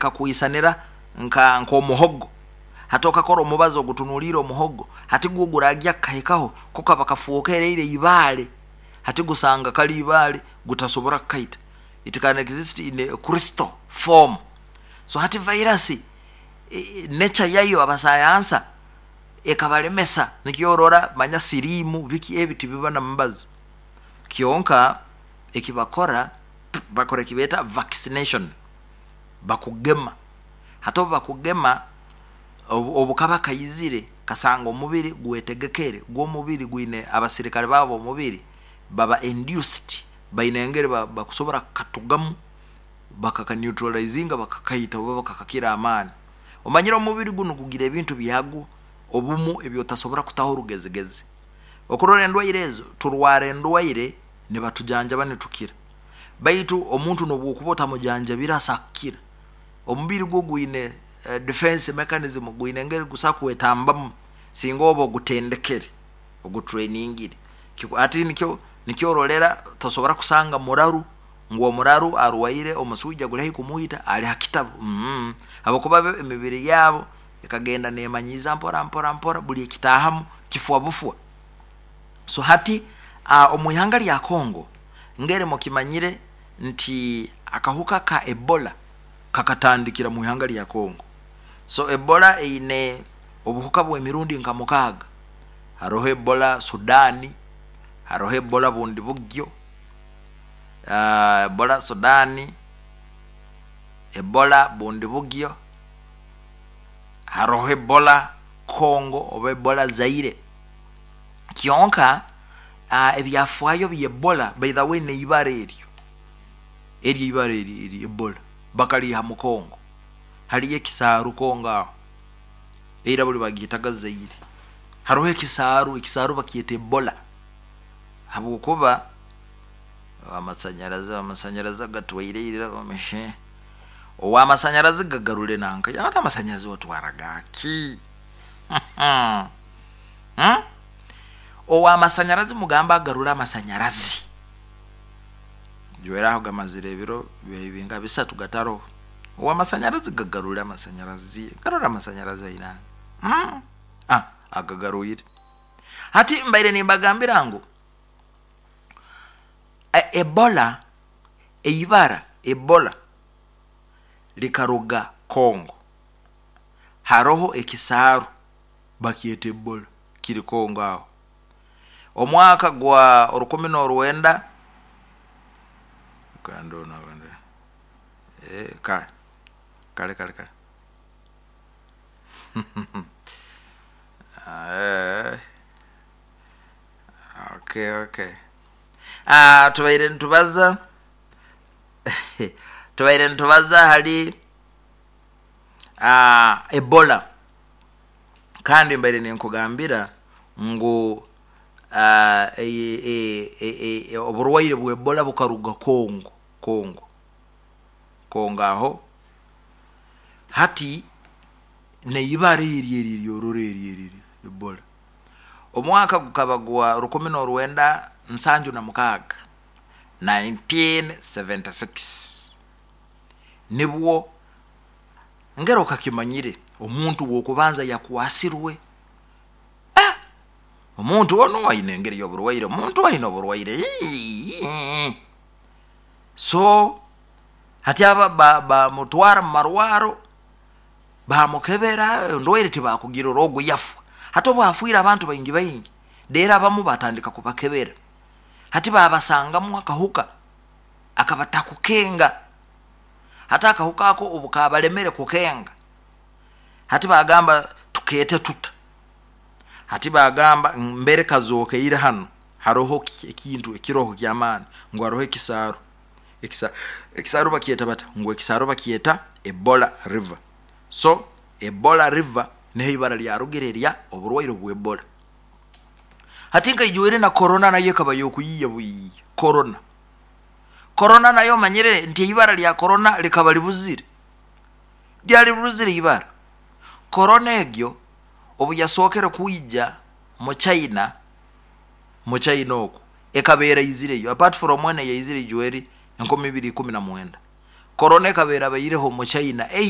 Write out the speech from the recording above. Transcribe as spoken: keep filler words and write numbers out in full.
Ekakwisanira nka nk'omuhogo. Hati okakora omubazi ogutunuliire omuhogo, hati gwo guragya kukahikaho, ko kaba kafuukereire ibaale. Hati gusanga kali ibaale, gutasobora kukaita. It can exist in a crystal form. So hati virus nature yayo, abasayansa ekabalemesa. Nikyo orora manya siriimu biki ebi tibiba na mubazi. Kyonka ekibakora, bakora ekibeeta vaccination, bakugema. Hati obu bakugema, obu obukaba kaizire kasanga omubiri gwetegekere, gw'omubiri gwine abasirikale babo omubiri baba induced, baine engeri bakusobora kukatugamu, bakakaneutralizinga, bakakaita oba bakakakira amaani. Omanyire omubiri gunu gugira ebintu byagwo obumu ebyotasobora kutaho orugezigezi. Okurora endwaire ezo, turwara endwaire nibatujanjaba nitukira, baitu omuntu nobwokuba otamujanjabire asakukira. Omubiri gwo gwine defense mechanism, gwine engeri gusobola kwetambamu singa oba ogutendekere, ogutrainingire. Hati nikyo nikyo orolera tosobora kusanga muraru ngu omuraru arwaire omuswija guli haihi kumwita ali ha kitabu, mm habwokuba bo emibiri yabo ekagenda nemanyiiza mpora mpora mpora, buli ekitaahamu kifwa bufwa. So hati uh, omu ihanga lya Congo, ngeri mukimanyire nti akahuka ka Ebola kakatandikira mu ihanga lya Congo. So Ebola eine obuhuka bw'emirundi nka mukaaga. Haroho Ebola Sudani, haroho Ebola bundi bugyo, uh, Ebola Sudani, Ebola bundi bugyo, haroho Ebola Congo oba Ebola Zaire. Kyonka uh, ebyafaayo by'Ebola, by the way, neibara eryo eryo ibara eri eri Ebola bakaliiha mu Congo. Haliyo ekisaaru Congo aho, eira buli bagiyetaga Zaire. Haroho ekisaaru, ekisaaru bakyeta Ebola, habwokuba amasanyarazi amasanyarazi agatwaire ira omeshe owamasanyarazi gagarure nanka ate amasanyarazi otwara gaki? Hmm? Owamasanyarazi mugamba agarure amasanyarazi. Jwera aho gamazire ebiro binga bisatu gataroho. Owamasanyarazi gagarure amasanyarazi, garura amasanyarazi aina. Hmm? Ah, agagaruire. Hati mbaire nimbagambira ngu Ebola, eibara Ebola likaruga Congo. Haroho ekisaaru bakyeta Ebola kiri Congo aho. Omwaka gwa orukumi n'orwenda eh, kale kale kale kale eh, okay okay ah, tubaire nitubaza tubaire nitubaza hali ah, Ebola, kandi mbaire ninkugambira ngu uh, e, e, e, e, oburwaire bwa Ebola bukaruga Congo, Congo Congo aho. Hati neibara eri eri eryorora eri eri Ebola, omwaka gukaba gwa rukumi n'orwenda nsanju na mukaaga, nineteen seventy six, nibwo ngero kakimanyire omuntu w'okubanza yakwasirwe. Ah! Omuntu ono aine engeri y'oburwaire, omuntu aine oburwaire. So hati aba bamutwara mu marwaro, bamukebera, endwaire tibakugirora, ogu yafwa. Hati obu afiire abantu baingi baingi, rero abamu batandika kubakebera, hati babasangamu akahuka akabatakukenga. Hati akahuka ako obu kabalemere kukenga, hati bagamba tukete tuta? Hati bagamba mbere kazokeire hano haroho ekintu ekiroho ky'amaani, ngu haroho ekisaaru. Ekisa, ekisaaru bakyeta bata? Ngu ekisaaru bakyeta Ebola River. So Ebola River niho ibara lyarugire erya oburwaire bwa Ebola. Hati nkaijwire na corona nayo ekaba y'okuyiiya buyiiya. Corona, corona nayo omanyire nti ibara lya corona likaba libuzire, lyali libuzire ibara. Corona egyo obu yasookere kwija mu China, mu China oku ekaba eraizireyo, apart from ene yaizire ijweri enkumi ibiri ikumi na mwenda, corona ekaba erabaireho mu China.